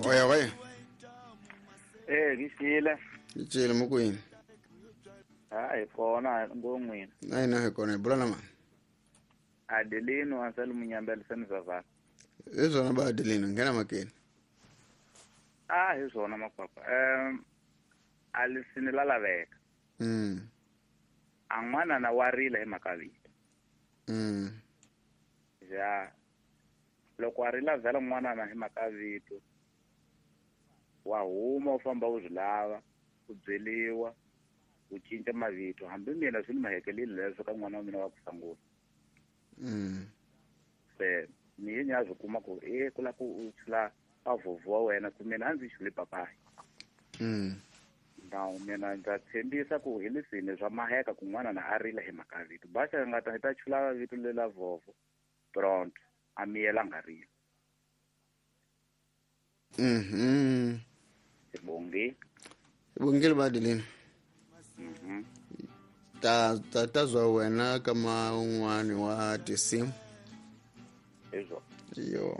Oya oya. Eh, ngixile. Icile mukwini. Ha hi kona ngon'wini. Na hina hi kona hi bula na mani. Adelino Ansel Munyambele Senizavana. Hi swona ba Adelino nghena makeni. Ah, hi swona makwakwa. Alisini la laveka. A n'wana na wa rila hi mhaka vito. Ja. Loko a rila vhela n'wana na hi mhaka vito. Wa huma u famba u swi lava, u byeliwa, u cinca mavito. Hambi mina swi ni mahekelile leswo ka n'wana wa mina wa ku sungula. Se ni ye ni ya swi kuma ku e ku la ku u chula avhovho wa wena ku mina a ndzi chuli papayi. Now mina ndza tshembisa ku hi leswini swa maheka ku n'wana na a rila hi mhaka vito. Baxa nga ta hi ta chula vito lela vhovho pronto a miyela nga rila. Sibongi. Sibongile ba Adelino. Ta ta ta zwa wena ka man'wani wa tinsimu. Hizwo. Yo.